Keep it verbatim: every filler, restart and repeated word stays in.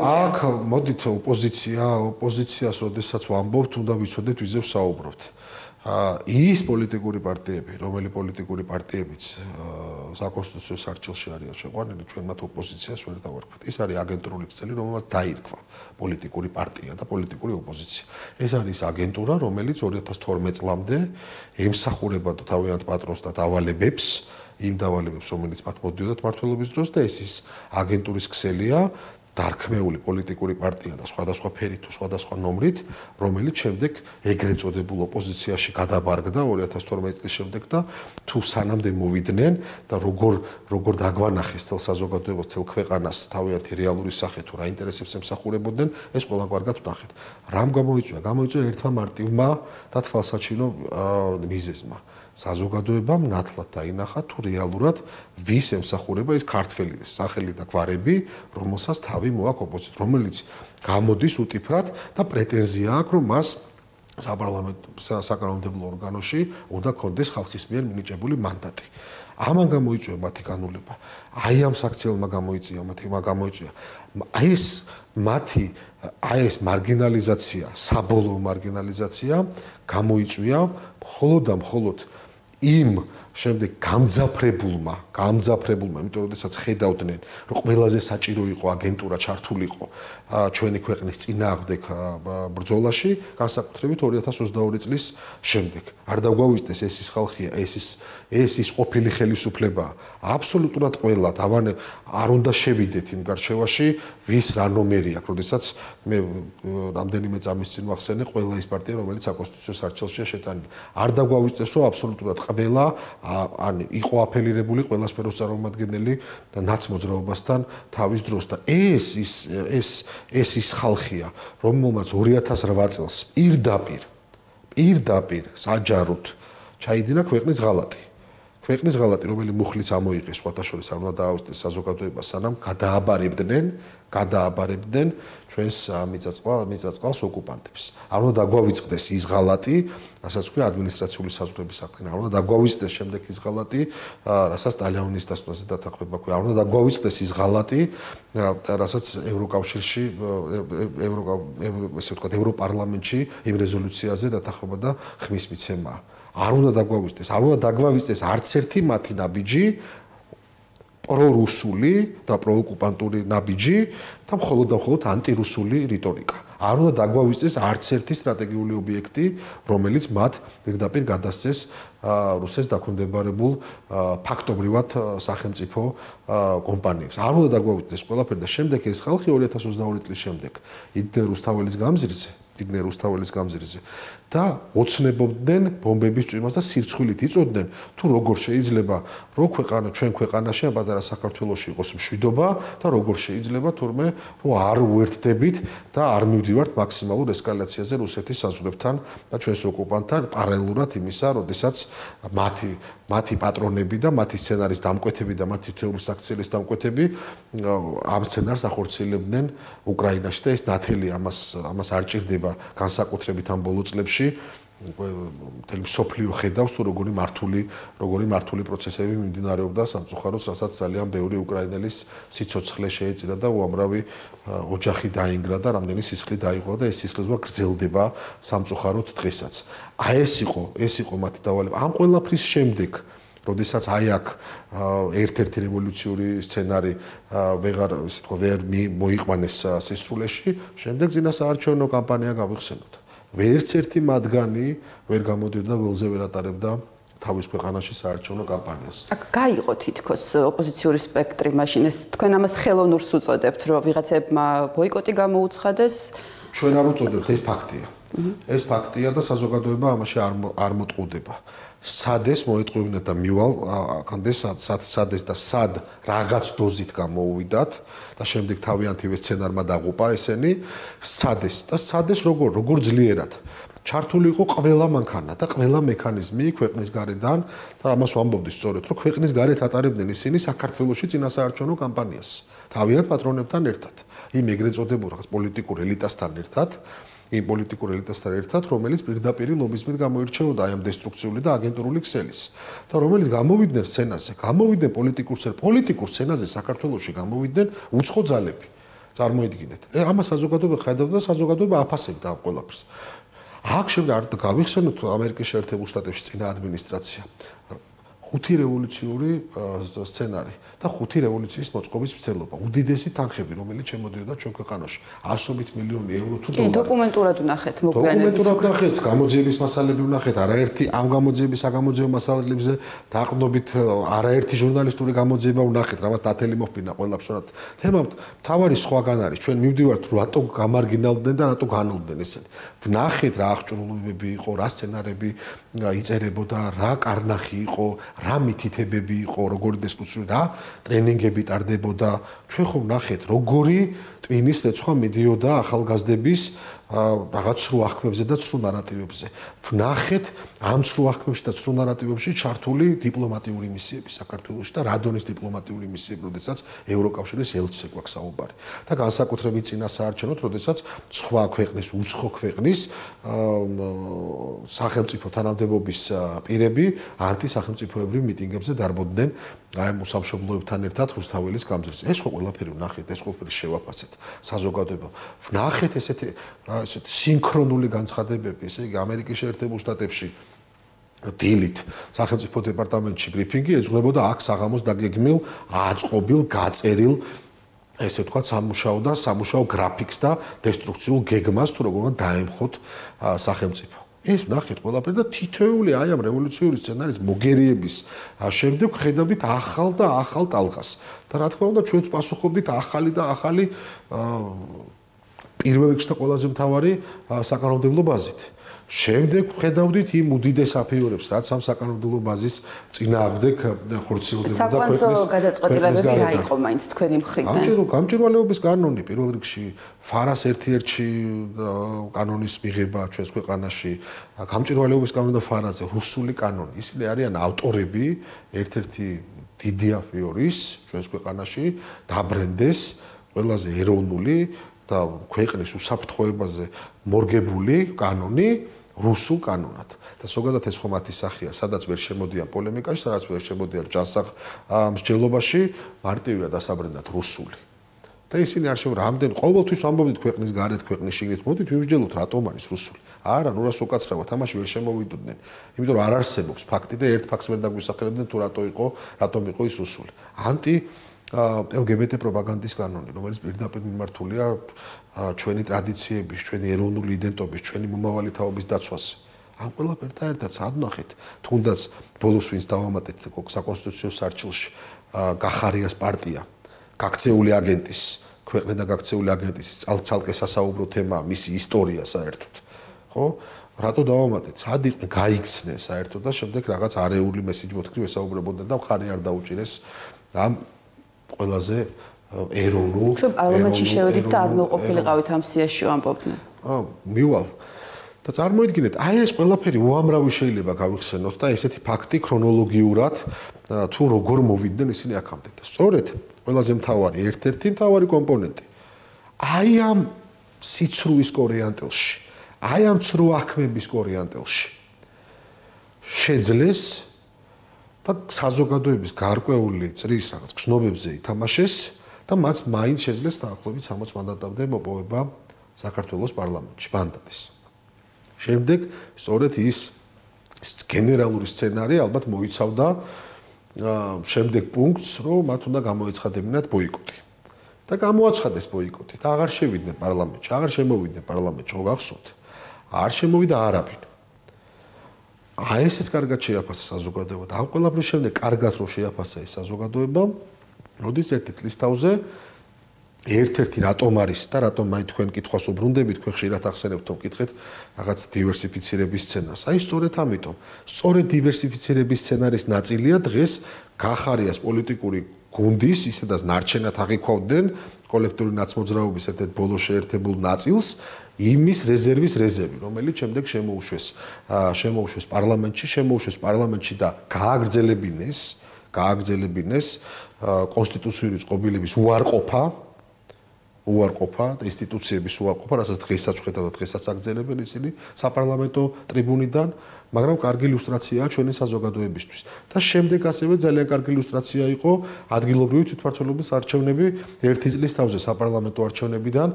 აქ მოდით ოპოზიცია, ოპოზიციას როდესაც ვამბობთ, უნდა ვიცოდეთ ვიზე ვსაუბრობთ. ის პოლიტიკური პარტიები, რომელი პოლიტიკური პარტიებიც საკონსტიტუციო სარჩელში არიან შეყვანილი, ჩვენ მათ ოპოზიციას ვერ დავარქვათ. ეს არის აგენტურული ქსელი, რომელსაც დაირქვა პოლიტიკური პარტია და პოლიტიკური ოპოზიცია. ეს არის აგენტურა, რომელიც ორი ათას თორმეტ წლამდე ემსახურება თავიანთ პატრონს და დავალებებს, იმ დავალებებს, რომელიც მათ მოდიოდათ მმართველობის დროს და ეს ის აგენტურის ქსელია. დარქმეული პოლიტიკური პარტია და სხვადასხვა ფერით თუ სხვადასხვა ნომრით, რომელიც შემდეგ ეგრეთ წოდებულ ოპოზიციაში გადაბარგდა ორი ათას თორმეტ წლის შემდეგ და თუ სანამდე მოვიდნენ და როგორ როგორ დაგვანახეს თელ საზოგადოებას, თელ ქვეყანას თავიანთი რეალური სახე თუ რა ინტერესებს ემსახურებოდნენ, ეს ყველა კარგად ვნახეთ. რამ გამოიწვია? გამოიწვია ერთმა მარტივმა და თვალსაჩინო მიზეზმა. საზოგადოებამ ნათლად დაინახა თუ რეალურად ვის ემსახურება ეს ქართველი სახელი და გვარები, რომელსაც თავი მოაქვს ოპოზიცია, რომელიც გამოდის უტიფრად და პრეტენზია აქვს, რომ მას საპარლამენტო საკანონმდებლო ორგანოში უნდა კონდეს ხალხის მიერ მინიჭებული მანდატი. ამან გამოიწვია მათი განულება. აი ამ საქციელმა გამოიწვია, მათი გამოიწვია. აი ეს მათი აი ეს მარგინალიზაცია, საბოლოო მარგინალიზაცია გამოიწვია მხოლოდ და მხოლოდ იმ შემდეგ გამძაფრებულმა, გამძაფრებულმა, იმიტომ რომ შესაძ ხედავდნენ, რომ ყველაზე საჭირო იყო აგენტურა ჩართულიყო ჩვენი ქვეყნის წინააღმდეგ ბრძოლაში, განსაკუთრებით ორი ათას ოცდაორი წლის შემდეგ. არ დაგვავიწყდეს ეს ის ხალხია, ეს ის ეს ის ყოფილი ხელისუფლება, აბსოლუტურად ყველა დავანე არ უნდა შევიდეთ იმ გარშევაში, ვის რა ნომერი აქვს, როდესაც მე რამდენიმე წამის წინ ვახსენე ყველა ის პარტია, რომელიც საკონსტიტუციო სარჩელშია შეტანილი. არ დაგვავიწყდეს, რომ აბსოლუტურად ყველა ან იყო აფილირებული ყველა სფეროს წარმომადგენელი და ნაცმოძრაობასთან თავის დროს და ეს ის ეს ეს ის ხალხია, რომელმაც ორი ათას რვა წელს პირდაპირ პირდაპირ საჯაროდ ჩაიდინა ქვეყნის ღალატი. ქვეყნის ღალატი, რომელი მუხლიც ამოიღეს, სხვათა შორის არ უნდა დაავიწყდეს საზოგადოებას, სანამ გადააბარებდნენ, გადააბარებდნენ ჩვენს მიწა-წყალ, მიწა-წყალს ოკუპანტებს. არ უნდა დაგვავიწყდეს ის ღალატი, რასაც ქვია ადმინისტრაციული საზღვრების აღდგენა. არ უნდა დაგვავიწყდეს შემდეგ ის ღალატი, რასაც სტალინის დასწრაზე დათანხმება ქვია. არ უნდა დაგვავიწყდეს ის ღალატი, რასაც ევროკავშირში, ევრო ესე ვთქვათ, ევროპარლამენტში იმ რეზოლუციაზე დათანხმება და ხმის მიცემა. არ უნდა დაგვავიწყდეს, არ უნდა დაგვავიწყდეს არც ერთი მათი ნაბიჯი პრორუსული და პროოკუპანტური ნაბიჯი და მხოლოდ და მხოლოდ ანტირუსული რიტორიკა. არ უნდა დაგვავიწყდეს არც ერთი სტრატეგიული ობიექტი, რომელიც მათ პირდაპირ გადასცეს რუსეთს დაქვემდებარებულ ფაქტობრივად სახელმწიფო კომპანიებს. არ უნდა დაგვავიწყდეს ყველაფერი და შემდეგ ეს ხალხი ორი ათას ოცდაორი წლის შემდეგ იდნენ რუსთაველის გამზირზე, იდნენ რუსთაველის გამზირზე და ოცნებობდნენ ბომბების წვიმას და სირცხვილით იწოდნენ თუ როგორ შეიძლება რო ქვეყანა ჩვენ ქვეყანაში ამ პატარა საქართველოში იყოს მშვიდობა და როგორ შეიძლება თურმე რომ არ უერთდებით და არ მივდივართ მაქსიმალურ ესკალაციაზე რუსეთის საზღვრებთან და ჩვენს ოკუპანტთან პარალელურად იმისა, როდესაც მათი მათი პატრონები და მათი სცენარის დამკვეთები და მათი თეორიული საქციელის დამკვეთები ამ სცენარს ახორციელებდნენ უკრაინაში და ეს ნათელი ამას ამას არ ჭირდება განსაკუთრებით ამ ბოლო წლებში მთელი მსოფლიო ხედავს თუ როგორი მართული როგორი მართული პროცესები მიმდინარეობდა სამწუხაროდ, რასაც ძალიან ბევრი უკრაინელის სიცოცხლე შეეწირა და უამრავი ოჯახი დაინგრა და რამდენი სისხლი დაიღვა და ეს სისხლიზღვა გრძელდება სამწუხაროდ დღესაც. აი ეს იყო, ეს იყო მათი დავალება. ამ ყველაფრის შემდეგ, როდესაც აი აქ ერთ-ერთი რევოლუციური სცენარი ვეღარ ისე თქვა ვერ მოიყვანეს სისრულეში, შემდეგ წინასაარჩევნო კამპანია გავიხსენოთ. ვერც ერთი მათგანი ვერ გამოდიოდა ველზე ვერ ატარებდა თავის ქვეყანაში საარჩევნო კამპანიას. აქ გაიყო თითქოს ოპოზიციური სპექტრი მაშინ ეს თქვენ ამას ხელოვნურს უწოდებთ, რომ ვიღაცებმა ბოიკოტი გამოუცხადეს. ჩვენ არ უწოდებთ, ეს ფაქტია. ეს ფაქტია და საზოგადოება ამაში არ არ მოტყუდება. სადეს მოეტყუებინათ და მივალ აქამდე სადეს და სად რაღაც დოზით გამოუვიდათ და შემდეგ თავიანთივე სცენარმა დაღუპა ესენი სადეს და სადეს როგორ როგორ ძლიერად ჩართული იყო ყველა მანქანა და ყველა მექანიზმი ქვეყნის გარედან და ამას ვამბობდი სწორედ რომ ქვეყნის გარეთ ატარებდნენ ისინი საქართველოში წინასაარჩევნო კამპანიას თავიანთ პატრონებთან ერთად იმ ეგრეთ წოდებულ რაღაც პოლიტიკურ ელიტასთან ერთად იმ პოლიტიკურ ელიტასთან ერთად, რომელიც პირდაპირ ლობიზმით გამოირჩეოდა აი ამ დესტრუქციული და აგენტურული ქსელის და რომელიც გამოვიდნენ სცენაზე, გამოვიდნენ პოლიტიკურ სცენაზე, პოლიტიკურ სცენაზე საქართველოში გამოვიდნენ უცხო ძალები. წარმოიდგინეთ. ე ამას საზოგადოება ხედავდა და საზოგადოება აფასებდა ამ ყველაფერს. აქ შემდეგ არ გავიხსენოთ ამერიკის შეერთებულ შტატებში წინა ადმინისტრაცია. ხუთი რევოლუციური სცენარი და ხუთი რევოლუციის მოწყობის მცდელობა. უდიდესი თანხები, რომელიც შემოდიოდა ჩვენ ქვეყანაში. ასობით მილიონი ევრო თუ დოლარი. კი, დოკუმენტურად ვნახეთ მოგვიანებით. დოკუმენტურად ვნახეთ, გამოძიების მასალები ვნახეთ, არაერთი ამ გამოძიების, საგამოძიებო მასალებზე დაყრდნობით არაერთი ჟურნალისტური გამოძიება ვნახეთ, რამაც დათელი მოხდინა ყველაფერად. თემა თავარი სხვაგან არის. ჩვენ მივდივართ, რატო გამარგინალდნენ და რატო განულდნენ ესენი. ვნახეთ რა აღჭურვილობები იყო, რა სცენარები იწერებოდა, რა კარნახი იყო, რა მითითებები იყო, როგორი დისკუსია, რა ტრენინგები ტარდებოდა. ჩვენ ხომ ვნახეთ, როგორი ტვინის რეცხვა მიდიოდა ახალგაზრდების რაღაც სრულ აღქმებზე და სრულ ნარატივებზე. ვნახეთ ამ სრულ აღქმებში და სრულ ნარატივებში ჩართული დიპლომატიური მისიები საქართველოში და რადონის დიპლომატიური მისიები, როდესაც ევროკავშირის ელჩზე გვაქვს საუბარი. და განსაკუთრებით წინასაარჩევნოთ, როდესაც სხვა ქვეყნის, უცხო ქვეყნის სახელმწიფო თანამდებობის პირები ანტისახელმწიფოებრივ მიტინგებზე დარბოდნენ აი მოსამშობლოებთან ერთად რუსთაველის გამზირზე. ეს ხო ყველაფერი ვნახეთ, ეს ყველაფერი შევაფასეთ საზოგადოებამ. ვნახეთ ესეთი ესეთი სინქრონული განცხადებები, ესე იგი ამერიკის შეერთებულ შტატებში დილით სახელმწიფო დეპარტამენტში ბრიფინგი ეძღვნებოდა აქ საღამოს დაგეგმილ, აწყობილ, გაწერილ ესე ვთქვათ სამუშაო და სამუშაო გრაფიკს და დესტრუქციულ გეგმას თუ როგორ უნდა დაემხოთ სახელმწიფო. ეს ვნახეთ ყველაფერი და თითოეული აი ამ რევოლუციური სცენარის მოგერიების შემდეგ ხედავდით ახალ და ახალ ტალღას. და რა თქმა უნდა ჩვენც პასუხობდით ახალი და ახალი პირველ რიგში და ყველაზე მთავარი საკანონმდებლო ბაზით. შემდეგ ხედავდით იმ უდიდეს აფიორებს, რაც ამ საკანონმდებლო ბაზის წინააღმდეგ ხორციელდებოდა ქვეყნის. საკვანძო გადაწყვეტილებები რა იყო მაინც თქვენი მხრიდან? გამჭირო გამჭირვალეობის კანონი პირველ რიგში ფარას ერთ-ერთი კანონის მიღება ჩვენს ქვეყანაში, გამჭირვალეობის კანონი და ფარაზე რუსული კანონი. ისინი არიან ავტორები ერთ-ერთი დიდი აფიორის ჩვენს ქვეყანაში დაბრენდეს ყველაზე ეროვნული და ქვეყნის უსაფრთხოებაზე მორგებული კანონი რუსულ კანონად. და ზოგადად ეს ხომ მათი სახეა, სადაც ვერ შემოდიან პოლემიკაში, სადაც ვერ შემოდიან ჯანსაღ მსჯელობაში, მარტივია დასაბრენდათ რუსული. და ისინი არ შემო რამდენ ყოველთვის ამბობდით ქვეყნის გარეთ, ქვეყნის შიგნით, მოდით ვიმსჯელოთ რატომ არის რუსული. არა, ნუ რას უკაცრავად, ამაში ვერ შემოვიდოდნენ. იმიტომ რომ არ არსებობს ფაქტი და ერთ ფაქტს ვერ დაგვისახელებდნენ თუ რატო იყო, რატომ იყო ის რუსული. ანტი ელ გი ბი ტი პროპაგანდის კანონი, რომელიც პირდაპირ მიმართულია ჩვენი ტრადიციების, ჩვენი ეროვნული იდენტობის, ჩვენი მომავალი თაობის დაცვაზე. ამ ყველაფერთან ერთად სადვნახეთ, თუნდაც ბოლოს ვინც დავამატეთ საკონსტიტუციო სარჩილში გახარიას პარტია, გაქცეული აგენტის, ქვეყნიდან გაქცეული აგენტის ცალკე სასაუბრო თემა, მისი ისტორია საერთოდ. ხო? რატო დავამატეთ? სად იყვნენ გაიქცნენ საერთოდ და შემდეგ რაღაც არეული მესიჯი მოთქმის ესაუბრებოდნენ და მხარი არ დაუჭირეს ამ ყველაზე ეროვნულ ჩვენ პარლამენტში შევედით და ადმოყოფილიყავით ამ სიაში ვამბობდნენ. აა მივალ. და წარმოიდგინეთ, აი ეს ყველაფერი უამრავი შეიძლება გავიხსენოთ და ესეთი ფაქტი ქრონოლოგიურად თუ როგორ მოვიდნენ ისინი აქამდე. და სწორედ ყველაზე მთავარი, ერთ-ერთი მთავარი კომპონენტი. აი ამ სიცრუის კორიანტელში, აი ამ ცრუ აღქმების კორიანტელში შეძლეს და საზოგადოების გარკვეული წრის რაღაც გზნობებზე ითამაშეს და მას მაინც შეძლეს დაახლოებით სამოც მანდატამდე მოპოვება საქართველოს პარლამენტში მანდატის. შემდეგ სწორედ ის გენერალური სცენარი ალბათ მოიცავდა შემდეგ პუნქტს, რომ მათ უნდა გამოეცხადებინათ ბოიკოტი. და გამოაცხადეს ბოიკოტი და აღარ შევიდნენ პარლამენტში, აღარ შემოვიდნენ პარლამენტში, ხო გახსოვთ? არ შემოვიდა არაფინ. აი ესეც კარგად შეაფასა საზოგადოება და ამ ყველაფრის შემდეგ კარგად რო შეაფასა ეს საზოგადოება, როდის ერთი წლის თავზე ერთ-ერთი რატომ არის და რატომ მაინც თქვენ კითხვას უბრუნდებით, თქვენ ხშირად ახსენებთ რომ კითხეთ რაღაც დივერსიფიცირების სცენარს. აი სწორედ ამიტომ, სწორედ დივერსიფიცირების სცენარის ნაწილია დღეს გახარიას პოლიტიკური გუნდის, ისედაც ნარჩენად აღიქვავდნენ კოლექტიური ნაცმოძრაობის ერთ-ერთ ბოლო შეერთებულ ნაწილს, იმის რეზერვის რეზერვი, რომელიც შემდეგ შემოუშვეს, შემოუშვეს პარლამენტში, შემოუშვეს პარლამენტში და გააგრძელებინეს, გააგრძელებინეს კონსტიტუციური წყობილების უარყოფა უარყოფა და ინსტიტუციების უარყოფა, რასაც დღესაც ვხედავ და დღესაც აგრძელებენ ისინი საპარლამენტო ტრიბუნიდან, მაგრამ კარგი ილუსტრაციაა ჩვენი საზოგადოებისთვის. და შემდეგ ასევე ძალიან კარგი ილუსტრაცია იყო ადგილობრივი თვითმმართველობის არჩევნები ერთი წლის თავზე საპარლამენტო არჩევნებიდან